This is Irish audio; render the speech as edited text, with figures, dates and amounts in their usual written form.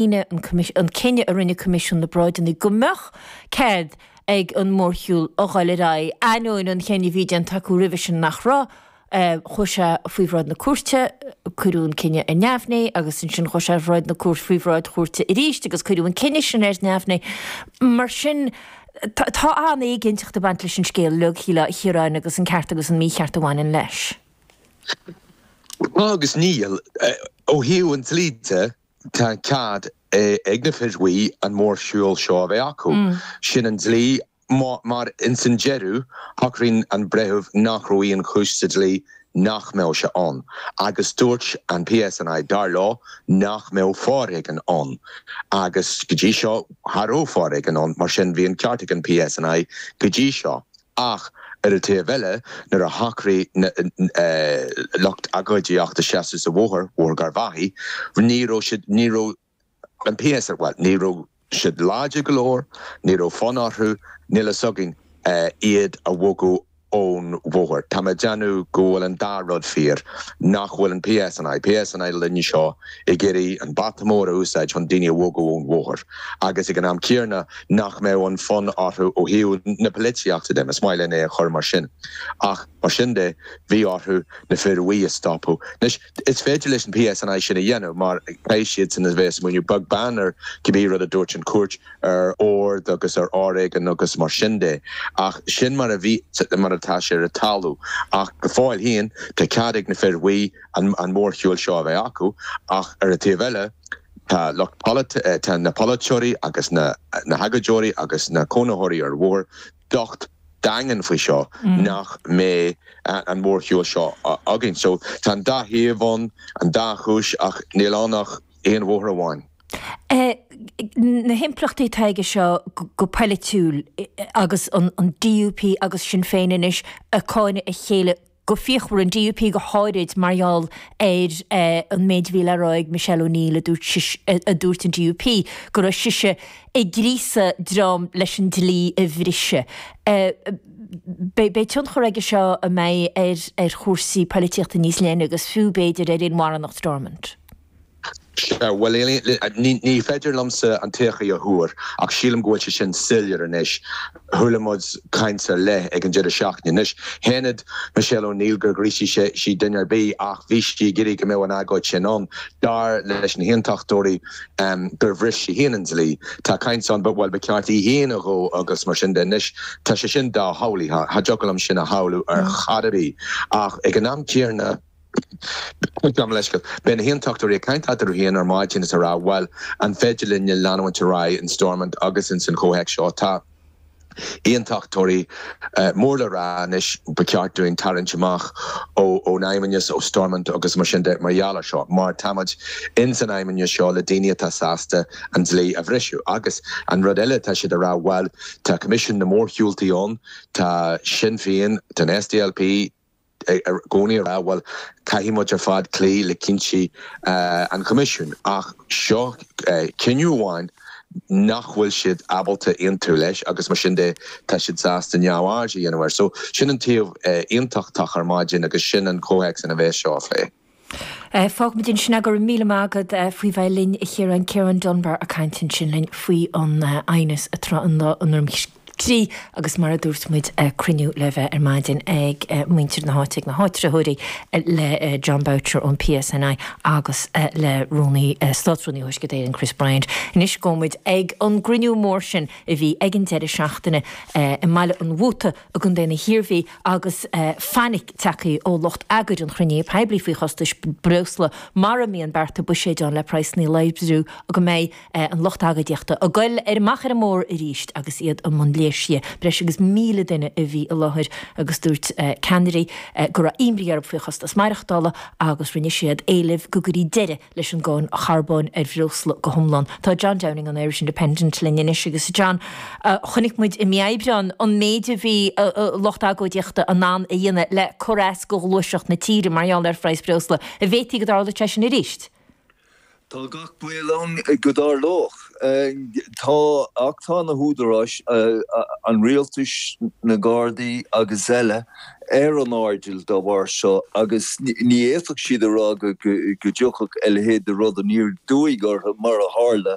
An cinneadh a rinne Coimisiún na bParáideanna go mbeadh cead ag an mórshiúl a dhul ar aghaidh, ainneoin an chinnidh a bhí déanta acu roimhe sin nach raibh. Chuaigh sé faoi bhráid na cúirte, cuireadh an cinneadh ar neamhní agus ansin chuaigh sé ar bhráid na cúirte, faoi bhráid chúirte arís agus cuireadh an cinneadh sin ar neamhní. Mar sin, tá an-éiginnteacht ag baint leis an scéal uilig, a Chiaráin, agus an ceart agus an mícheart a bhaineann leis. Tá agus níl. Ó thaobh an dlí de, Tá cead ag na fir bhuí an mórshiúl seo a bheith acu. Sin an dlí mar ins an deireadh shocraigh an breitheamh nach raibh aon chúis sa dlí nach mbeadh sé ann. Agus dúirt an PSNI dar leo nach mbeadh foréigean ann. Agus go dtí seo cha raibh foréigean ann mar sin bhí an ceart ag an PSNI go dtí seo. Ach ar an taobh eile, nuair a shocraigh na lucht agóidíochta seasamh sa bhóthar, Bóthar Gharbhachaidh, ní raibh siad, ní raibh an PS, bhuel, ní raibh siad láidir go leor, ní raibh fonn orthu, níl fhios againn, iad a bhogadh ón bhóthar. Tá mé ag déanamh go bhfuil an dá rud fíor, nach bhfuil an PSNI, PSNI linne seo, ag iarraidh an bata mór a úsáid chun daoine a bhogadh ón bhóthar agus ag an am céanna nach mbeadh an fonn orthu ó thaobh na polaitíochta de, más maith linn é a chur mar sin. Ach mar sin de, bhí orthu na fir bhuí a stopadh. Anois, is féidir leis an PSNI sin a dhéanamh mar caithfidh siadsan a bheith ag smaoineamh beag beann ar cibé rud a dúirt an chúirt ar ord agus ar fhoréigean agus mar sin de. Ach sin mar a bhí, mar atá sé ar an talamh. Ach go fóill féin, tá cead ag na fir bhuí an mórshiúl seo a bheith acu ach ar an taobh eile tá lucht tá na polaiteoirí agus na hagóideoirí agus na cónaitheoirí ar an bhóthar docht daingean faoi seo nach mbeidh an mórshiúl seo againn. So tá an dá thaobh ann, an dá chúis ach níl ann ach aon bhóthar amháin. Na himpleachtaí atá aige seo go polaitiúil agus an DUP agus Sinn Féin anois ag cáineadh a chéile go fíochmhar, an DUP go háirid mar gheall ar an méid a bhí le rá ag Michelle O'Neill a dúirt a dúirt an DUP go raibh sise ag gríosadh dream leis an dlí a bhriseadh. Beidh tionchar aige seo an mbeidh ar ar chúrsaí poilitíochta níos leithne agus fiú b'fhéidir ar inmharthanacht Stormont. Sea, bhuel, ní féidir liomsa an todhchaí a thuar, ach sílim go bhfuil sé sin soiléir anois. Chuala muid caint ar leith ag an deireadh seachtaine. Anois, shéan Michelle O'Neill gur ghríosaigh sí duine ar bith, ach bhí sí ag iarraidh go mbeadh an agóid sin ann. Dar leis na hAontachtóirí gur bhris sí féin an dlí. Tá caint ann, bhuel, ba cheart í féin a dhó agus mar sin de. Anois, tá sé sin doshamhlaithe, cha dtiocfadh liom sin a shamhlú ar chor ar bith. Ach ag an am céanna, Gabh mo leithscéal. Beidh na hAontachtóirí ag caint eatarthu féin ar maidin is ag rá, bhuel, an féidir linne leanúint ar aghaidh in Stormont agus ins an chomhthéacs seo? Tá Aontachtóirí mór le rá anois, ba cheart dúinn tarraingt amach ón Fheidhmeannas, ó Stormont agus mar sin de mar gheall ar seo, mar táimid ins an Fheidhmeannas seo le daoine atá sásta an dlí a bhriseadh. Agus an rud eile atá siad ag rá, bhuel, tá Coimisiún na Mórshiúltaí ann, tá Sinn Féin, tá an SDLP, i gcónaí ag rá, bhuel, caithfidh muid ar fad cloí le cinntí an Choimisiúin. Ach seo cinneadh amháin nach bhfuil siad ábalta aontú leis agus mar sin de tá siad sásta neamhaird a dhéanamh air. So sin an taobh aontachtach ar maidin agus sin an comhthéacs ina bheas seo á phlé. Fágfaimid ansin é. Go raibh míle maith agat faoi bheith linn, a Chiaráin. Ciarán Dunbar ag caint ansin linn faoi an aighneas atá i nDroim Crí agus mar a dúirt muid, cruinniú le bheith ar maidin ag muintir na háite, ag na háitritheoirí le Jon Boutcher ón PSNI agus le Rúnaí, Státrúnaí Thuaisceart Éireann, Chris Bryant. Anois gabhfaidh muid ag an gcruinniú mór sin a bhí ag an deireadh seachtaine i mBaile an Mhóta i gContae na hIarmhí agus fainic tagtha ó lucht eagair an chruinnithe poiblí faoi chostais breosla mara mbíonn bearta buiséid ann le praghsanna a laghdú go mbeidh an lucht agóidíochta ag goil ar amach ar an mbóthar arís agus iad i mbun léirsithe. Breis agus 1,000 duine a bhí i láthair agus dúirt ceannairí go raibh imní orthu faoi chostas maireachtála agus rinne siad éileamh go gcuirfí deireadh leis an gcáin charbóin ar bhreosla go hiomlán. Tá John Downing ón Irish Independent linn anois agus John, chonaic muid i mí Aibreáin an méid a bhí lucht agóidíochta in ann a dhéanamh le cur as do ghluaiseacht na tíre mar gheall ar phraghas breosla. An bhféadfaí go dtarlódh sé sin arís? Tá gach baol ann go dtarlódh. Tá, ach tá na húdaráis, an rialtais, na Gardaí agus eile, ar an airdeall dá bharr seo agus ní fhéadfadh siad a rá go dtiocfadh a leithéid de rud aniar aduaidh orthu mar a tharla.